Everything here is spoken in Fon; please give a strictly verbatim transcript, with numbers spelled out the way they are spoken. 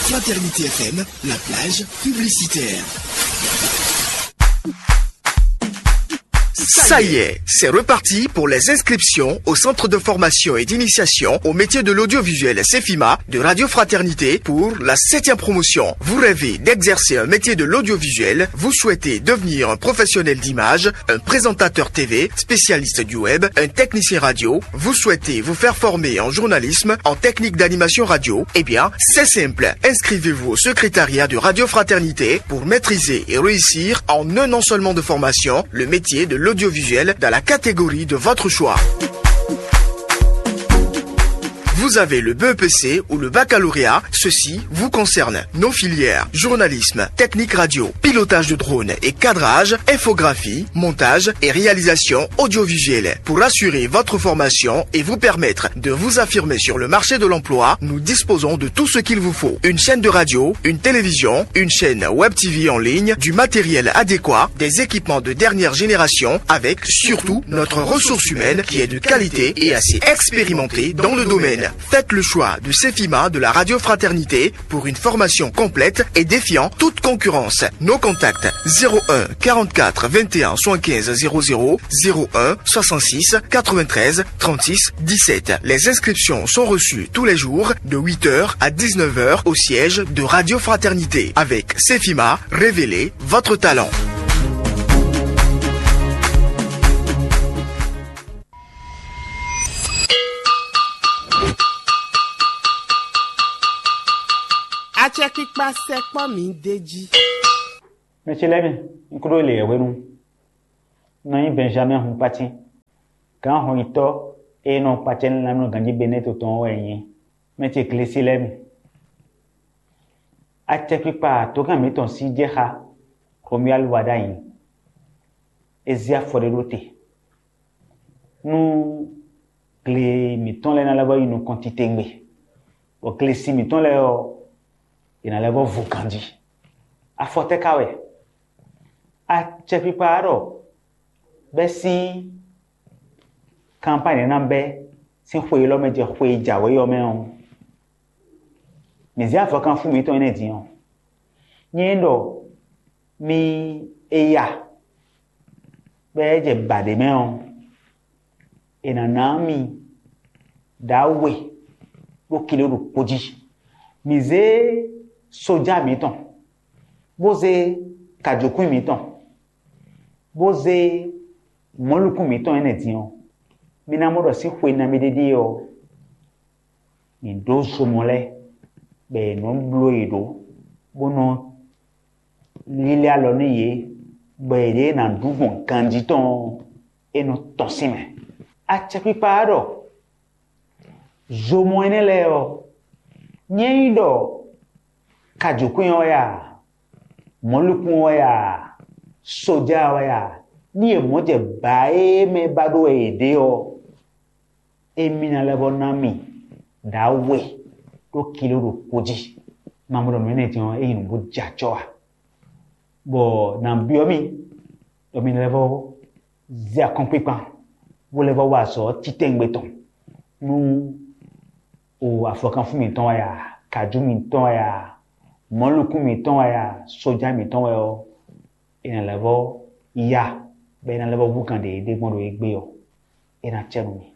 Fraternité F M, la plage publicitaire. Ça y est, c'est reparti pour les inscriptions au centre de formation et d'initiation au métier de l'audiovisuel Cefima de Radio Fraternité pour la septième promotion. Vous rêvez d'exercer un métier de l'audiovisuel, vous souhaitez devenir un professionnel d'image, un présentateur T V, spécialiste du web, un technicien radio, vous souhaitez vous faire former en journalisme, en technique d'animation radio, eh bien, c'est simple. Inscrivez-vous au secrétariat de Radio Fraternité pour maîtriser et réussir en un an seulement de formation le métier de l'audiovisuel dans la catégorie de votre choix. Vous avez le B E P C ou le baccalauréat, ceci vous concerne. Nos filières, journalisme, technique radio, pilotage de drone et cadrage, infographie, montage et réalisation audiovisuelle. Pour assurer votre formation et vous permettre de vous affirmer sur le marché de l'emploi, nous disposons de tout ce qu'il vous faut. Une chaîne de radio, une télévision, une chaîne web T V en ligne, du matériel adéquat, des équipements de dernière génération, avec surtout notre ressource humaine qui est de qualité et assez expérimentée dans le domaine. Faites le choix de Cefima de la Radio Fraternité pour une formation complète et défiant toute concurrence. Nos contacts: zéro un quarante-quatre vingt et un soixante-quinze zéro zéro, zéro un soixante-six quatre-vingt-treize trente-six dix-sept. Les inscriptions sont reçues tous les jours de huit heures à dix-neuf heures au siège de Radio Fraternité. Avec Cefima, révélez votre talent. Acɛkpikpa sɛkpɔ́ mǐ d'é jí. Mɛ ce lɛ́ɛ mi, un kúɖó le yɛhwenu. Un nɔ nyí Benjamin Hunkpatín, gǎn hɔnyitɔ́ e nɔ kpacɛ nú lanmɛnɔganjí Benɛ́to tɔn ɔ́ wɛ nyí. Mɛ ce Glesi lɛ́ɛ mi, acɛkpikpa tǒgán mǐtɔn sí jɛ xá Romuald Wadagni. É zé afɔ ɖé ɖó te nú gle mǐtɔn lɛ́ɛ ná lɛ́ vɔ́ yi nukɔn titewungbe, bɔ glesi mǐtɔn lɛ́ɛ ɔ́, è nǎ lɛ́ vɔ́ vo ganjí. Afɔ tɛ́ ka wɛ? Acɛkpikpa ɔ́ ɖɔ bɛ́ sín kanpány ná bɛ́ sín xwe élɔ́ mɛ jɛ xwe e jǎwe ɔ́ mɛ ɔ́, mǐ zé avɔkanfún mǐtɔn énɛ́ din ɔ́, nyɛ ɖɔ mi e ya bɔ é jɛ ba ɖě mɛ ɔ́, è nǎ ná mi ɖǎwe ɖó kilo ɖokpó jí. Mǐ zé sójá mǐtɔn, bó zé kajǒkwín mǐtɔn, bó zé mɔ̌likún mǐtɔn énɛ́ din ɔ́, mi ná mɔ ɖɔ sín xwe nabí ɖé ɖíe ɔ́, mǐ ɖó zomɔ lɛ́ɛ, bɔ è nɔ bló yě ɖó, bó nɔ lílɛ́ alɔ nú yě, bɔ yěɖée ná ɖu gbɔn ganjí tɔn ɔ́, é nɔ tɔ́n sín mɛ. Acɛkpikpa ɔ́ ɖɔ zomɔ énɛ́ lɛ́ɛ ɔ́, nyɛ nyí ɖɔ kajǒkwín ɔ́ wɛ a, mɔ̌likún ɔ́ wɛ a, sójá ɔ́ wɛ a, ní yě mɔ jɛ bǎ e mɛ ba ɖó wɛ yě ɖe ɔ́, émí ná lɛ́ vɔ́ ná mì ɖǎwe ɖó kilo ɖokpó jí. Mamɔɖɔ nǔ énɛ́ din ɔ́, é nyí nǔ bó jɛ acɔ́ ǎ. Bɔ nǎ byɔ́ mì ɖɔ mi ná lɛ́ vɔ́ zé akɔ́nkpinkpan, bó lɛ́ vɔ́ wa azɔ̌ titɛngbe tɔn nú o afɔkanfún mǐtɔn wɛ a, kajú mǐtɔn wɛ a, mɔ̌likún mǐtɔn wɛ a, sójá mǐtɔn wɛ ɔ́, è nǎ lɛ́ vɔ́ ya, bɔ è nǎ lɛ́ vɔ́ hú gǎn ɖě ɖé gbɔn ɖo égbé ɔ́, é ná cɛ nú mi.